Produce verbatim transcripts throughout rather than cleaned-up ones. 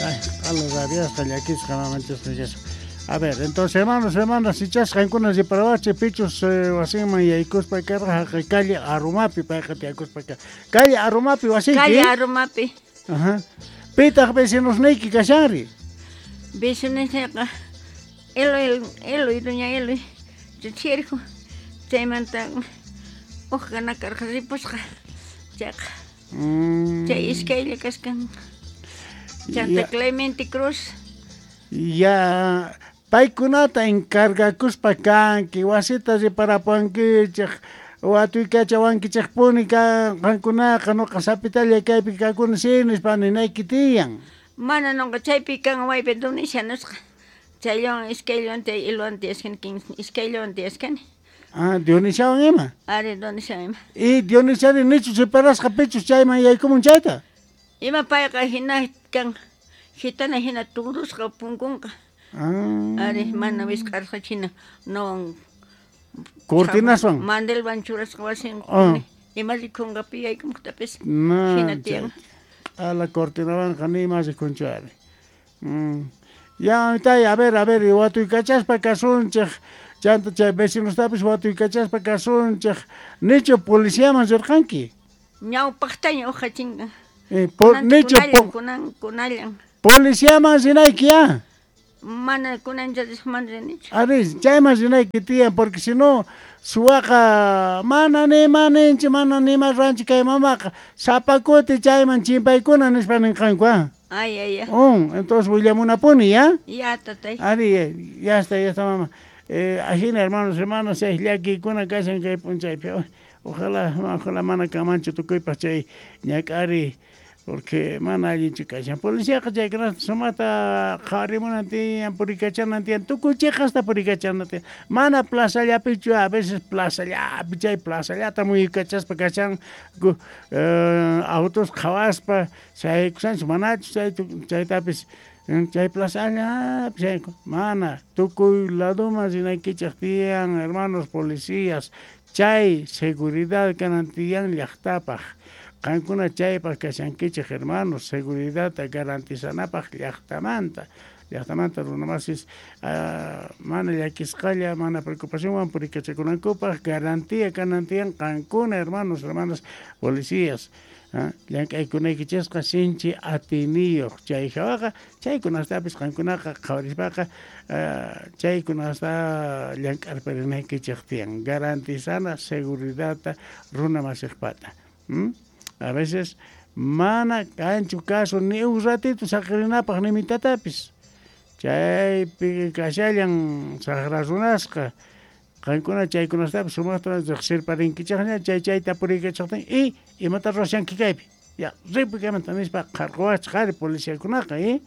Ay, q'ala rabiasqa llakisqa mamanchisqa kashan. A ver, entonces, hermanos, hermanas, ichas qankuna riparawachik pichus eh, wasinman yaykuspa karqa haqay calle Arumapi payqa tiyakuspa ka. Calle Arumapi wasiyki? Calle Arumapi. Ajá. Pitaq vecinosniyki kashanri? Vecinosniyqa Eloy, Eloy, doña Eloy, chirku. Chaymanta uqqa nakarqa ripusqa. Chayqa. Mm. Chay iskaylla kaskan. Chanta Ya. Clemente Cruz. Ya paykunata encargakuspa kanki, wasita riparapuwankichik, watuykachawankichikpuni ka qankunaqa nuqa sapitalla kaypi kakuni si nispa ninayki tiyan. Mana nuqa chaypi kan waypi Dionisia nisqa. Chayllawan iskayllawan chay Eloywan tiyashkani, iskayllawan tiyashkani. Ah, Dionisiawan ima? Ari, Dionisiawan ima. Y Dionisiari nichu reparasqa pichus chayman yaykumun chayta? Ima payqa hina kan gitana hina turusqa punkunqa. Ah. Ari, mana wisq'arqa china no Cortinaswan. Mandelwan churasqa wasin. Ah. Ima rikunqa pi yaykumuqtapis. No, Hina tiyan. A la cortinawanqa nima rikunchu ari. Mm. Ya, tay, a ver, a ver, watuykachaspa kasunchik, chanta chay vecinostapis watuykachaspa kasunchik, nichu policiaman rirqanki? Ñawpaqtaña uqa chinka. Eh, por, Kunan nichu kunallan, po- kunan, kunallan. policiaman rinayki ya. Mana kunan mana rinichu. Ari, chayman rinayki tiyan, porque si no, suwaqa mana nima ninchi, mana nima ruwanchi kay mamaqa, sapa kuti chayman chimpaykuna nispa ninqanku, ah. Ay, ay, ay. Un, entonces willamunapuni, ya? Ya, tatay. Ari, ya está, ya está, mamá. Eh, ajina, hermanos, hermanas, chay llakiykuna kashan kay p'unchaypi. Ojalá, ojalá mana kanmanchu tukuypaq chay ñak'ari, porque mana allinchu kashan. Policiaqa chaykunata sumaqta qhawarimunan tiyan, purikachanan tiyan, tukuy chiqasta purikachanan tiyan. Mana plazallapichu, a veces plazallapi, chay plazallata muyukachaspa kashan, gu, eh, autos qhawaspa, shaykushanchu, manachu chay chaytapis, chay plazallapi shayku, mana, tukuy laduman rinaykichik tiyan, hermanos policías, chay seguridad kanan tiyan llaqtapaq. Qankuna chaypaq kashankichik, hermanos, seguridadta garantizanapaq llaqtamanta. Llaqtamanta runamasis uh, mana llakisqalla, mana preocupacionwan purikachakunankupaq garantía kanan tiyan qankuna, hermanos, hermanas, policías. Ah, llank'aykunaykichisqa sinchi atiniyuq chay hawaqa chaykunastapis qankunaqa qhawarispaqa uh, chaykunasta llank'arparinaykichik tiyan, garantizana seguridadta runamasiqpata. ¿Mm? A veces mana kanchu caso ni un ratito saqirinapaq ni mitatapis. Chaypi kashallan saqra runasqa. Qankuna chaykunastapis sumaqta riqsirparinkichikña, chay chayta purikachaqtin y imata ruwashanki kaypi. Ya, ripuy kaymanta nispa qarquwachik ari policiakunaqa, ¿eh?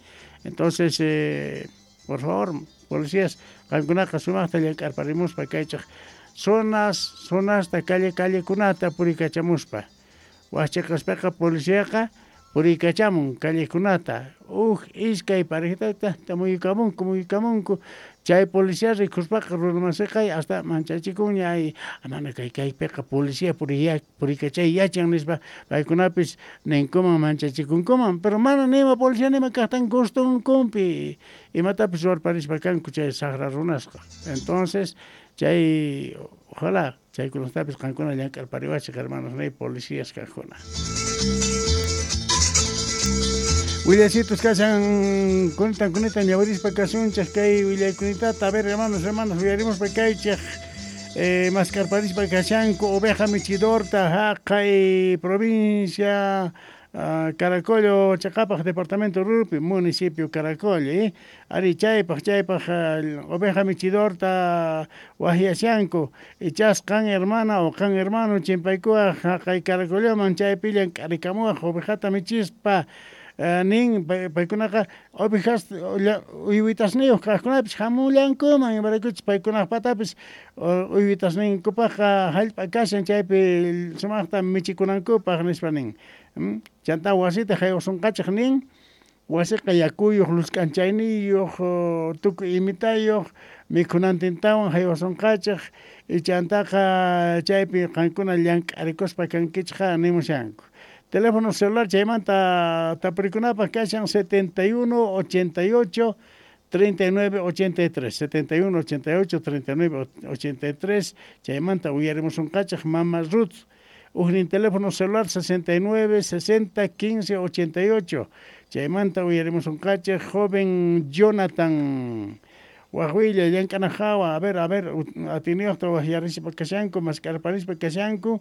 Entonces, eh, por favor, policías, qankunaqa sumaqta llank'arparimuspa kaychik zonas, zonasta, calle, callekunata purikachamuspa. Wachikaspaqa policiaqa purikachamun callekunata, uj iskay parejitata muyukamunku, muyukamunku, chay policía rikuspaqa runamasiqa hasta manchachikunña, ay, mana kay kaypiqa policía puriya purikachay yachan nispa paykunapis ninkuman manchachikunkuman, pero mana nima policía nima kaqtan gustunkunpi imatapis ruwarparispa kanku chay saqra runasqa. Entonces, chay ojalá chaykunastapis qankuna llank'arpariwachik, hermanos, nay policías kaqkuna. Willacitos kashan kunitan kunitan ñawirispa kasunchik kay willaykunitata. A ver, hermanos, hermanas, willarimuspa kaychik eh, maskarparispa kashanku oveja michidorta haqay provincia uh, Caracollo Chaqapaq departamento Rupi municipio Caracollo, eh? Ari chaypaq chaypaq uh, oveja michidorta wahyashanku ichas qan hermana o qan hermano chimpaykuwaq haqay Caracolloman chaypi llank'arikamuwaq ovejata michispa. Uh, nin paykunaqa ovejas uywitasniyuq kaqkunapis hamullankuman imaraykuchus paykunaqpatapis uywitasninkupaqqa hallp'a kashan chaypi sumaqta michikunankupaq nispa nin. Mm? Chanta wasita haywasunqachik nin, wasiqa yakuyuq, luzk'anchayniyuq, tukuy imitayuq, mikhunantintawan haywasunqachik, y chantaqa chaypi qankuna llank'arikuspa kankichikqa nimushanku. Teléfono celular chaymanta tapurikunapaq kashan setenta y uno ochenta y ocho treinta y nueve ochenta y tres, setenta y uno ochenta y ocho treinta y nueve ochenta y tres, chaymanta uyarimusunqachaq mama Ruth. Ujnin teléfono celular sesenta y nueve sesenta quince ochenta y ocho, chaymanta uyarimusunqachaq joven Jonathan Wajwilla llank'anajawa, a ver, a ver, atiniyuqta waqyarispa kashanku, maskarparispa kashanku,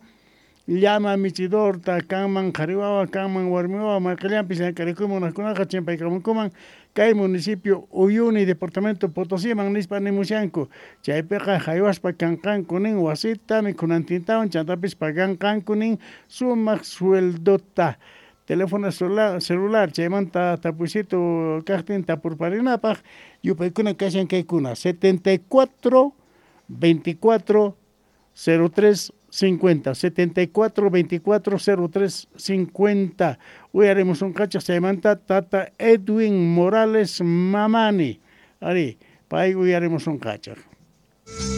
llama michidorta kanman qhariwawa kanman warmiwawa mayqillanpis llank'arikuyman munaqkunaqa chimpaykamunkuman kay municipio Uyuni departamento Potosíman nispa nimushanku, chaypiqa haywaspa kanqanku nin wasita mikhunantintawan chantapis paganqanku nin sumaq sueldota. Teléfono celular, celular chaymanta tapuysitu kaqtin tapurparinapaq yupaykuna kashan kaykuna setenta y cuatro veinticuatro cero tres cincuenta, setenta y cuatro veinticuatro cero tres cincuenta. Uyarimusunqachaq chaymanta tata Edwin Morales Mamani. Ari, pay uyarimusunqachaq.